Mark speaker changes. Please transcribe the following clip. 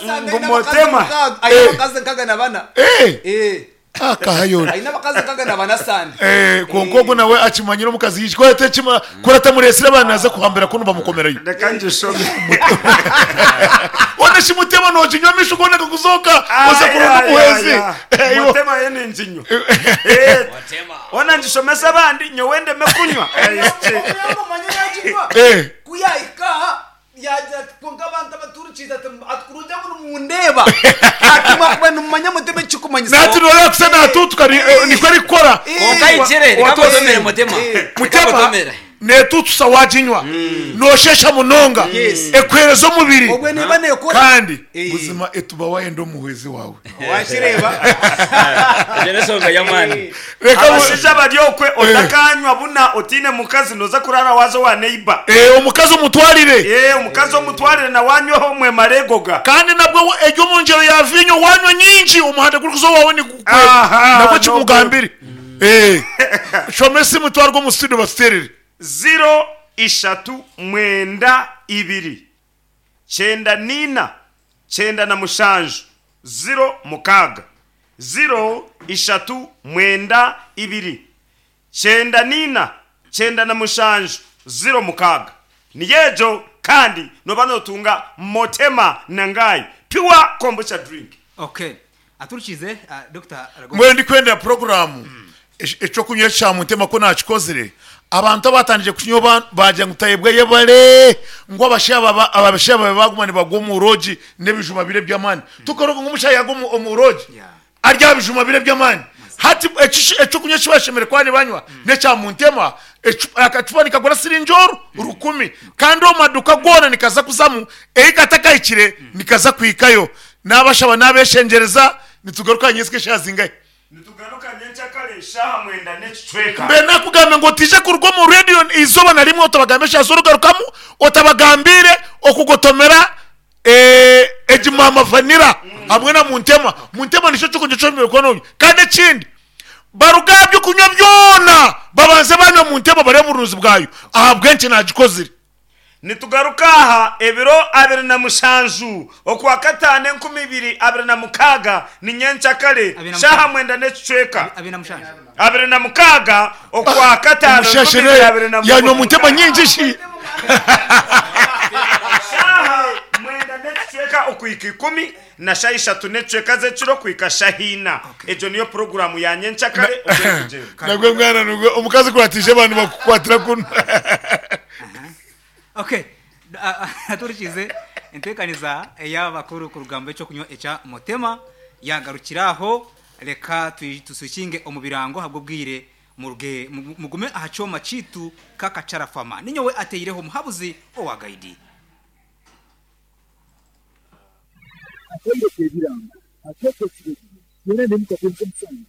Speaker 1: Sande
Speaker 2: Ngu
Speaker 1: aine abakazi
Speaker 2: Mutema.
Speaker 1: mukaaga, aine abakazi nkaga na bana.
Speaker 3: Eh!
Speaker 1: Eh.
Speaker 3: Akahayo ori.
Speaker 1: Aine abakazi nkaga na bana Sande.
Speaker 3: Eh, kwonka ogwo nawe akimanyire omukazi yiki ku atakima ku atamureetsire abaana naaza kuhambira kunu bamukomerayo.
Speaker 2: Reka ngishome.
Speaker 3: Hoona shi Mutema nooginywa amaisho goona gakuzooka oza kuronda omuhwezi. Eh, iwe-
Speaker 2: Mutema yo ninginywa. Eh, Hoona ngishomese abandi nyowe ndeme kunywa. Eh, ki-
Speaker 1: Omuyambo omanye yaginywa.
Speaker 3: Eh.
Speaker 1: Ku yahika aha yaagira ati kwonka abantu abaturikiize ati ati kurungi ngu nimundeeba ati mwakuba nimumanya mutema ekikumanyisa.
Speaker 3: Nati nooreeba kusa naatuutuka ni- eh, nikwo arikukora.
Speaker 4: Kwonka ahikire, reka nkutomere Mutema. Reka
Speaker 3: Mutema
Speaker 4: nkutomere.
Speaker 3: neetuutusa waaginywa noosheesha munonga
Speaker 1: Yes.
Speaker 3: ekuheereza omubiri
Speaker 1: Obwe neeba neekora.
Speaker 3: kandi
Speaker 1: Eh.
Speaker 3: buzima etuba waayenda omuhwezi waawe.
Speaker 1: Wakireeba?
Speaker 4: Egyo n'enshonga y'amaani.
Speaker 3: Reka bu-
Speaker 2: Abashaija bari okwe otakanywa buna otaine mukazi noza kurara waaza owa neighbour.
Speaker 3: Eh, omukazi omutwarire.
Speaker 2: Eh, omukazi omutwarire nawe anyweho mwemare egoga.
Speaker 3: Kandi nabwo eri omu ngyero ya viinyo waanywa nyingi omuhanda gurikuza owaawe nigukweba.
Speaker 2: Aha,
Speaker 3: Nabwo
Speaker 2: nogwo.
Speaker 3: kimugambire. Eh, shoma esimu twarwe omu studio batuteerere.
Speaker 2: Ziro ishatu mwenda ibiri kyenda n'ina 97 06 0 ishatu mwenda ibiri 94 97 06 Niyo egyo kandi nooba nootunga Motema na Ngai Pure Kombucha Drink.
Speaker 5: Okay. Aturikiize Dokita Ragomba.
Speaker 3: Mbwenu ndikwendera puroguraamu eky'okunywa ekya Mutema ku naakikozire, abantu abaatandikire kukinywa ba- baagira ngu Tayebwa yebare, ngu abashaija aba abashaija baawe baaguma nibagwa omu roogi n'ebijuma biri eby'amaani. Tokaroga ngu omushaija yaagwa omu omu roogi
Speaker 5: Yeah.
Speaker 3: ari aha bijuma biri eby'amaani. Hati eki eky'okunywa eki bashemereire kuba nibanywa n'ekya Muntema, ecu akacupa nikagura siringi oru rukumi kandi omu maduuka goona nikaza kuzamu, ei katakahikire nikaza kuhikayo. Naabashaba naabeshengyereza nitugaruka aha nyentsya eshaaha zingahi?
Speaker 2: Nitugaruka nyenkyakare eshaaha mwenda n'ekicweka.
Speaker 3: Mbwenu nakugambe ngu otaija kuruga omu radio eizooba na rimwe otabagambe eshaaha z'orugarukamu otabagambiire okugotomera egi maama vanilla hamwe na muntema. Muntema nikyo ky'okunywa eki oshemereire kuba nonywa. Kandi ekindi baruge aha by'okunywa byona babanze banywa muntema bareebe oburungi bwayo ahabw'enki nagikozire.
Speaker 2: Nitugaruka aha ebiro 27 Okwakataano 2026 ni nyenkyakare shaaha mwenda n'ekicweka. 26 Okwakataano
Speaker 3: Omushashe yanywa muntema nyingi shi.
Speaker 2: Shaaha mwenda n'ekicweka okuhika ikumi na shaaha ishatu n'ekicweka z'ekiro kuhika shaaha ina. Egyo niyo puroguraamu ya nyenkyakare oku erikugyenda.
Speaker 3: Nabwo mwana nubwo omukazi ku atiije abantu bakukwatira kunu.
Speaker 5: Okay, aturikize enteekaniza ey'abakuru kuruga omu eky'okunywa ekya Motema yaagarukira aho. Reka tuswikinge omu birango ahabw'obwire muruge mugume aha kyoma kyaitu Kakacarafama. Ninyowe ateireho omuhabuzi owa Gaidi.
Speaker 6: Akaire k'ebirango akeekwo ekiragiro, yoona n'emikago nk'omusango.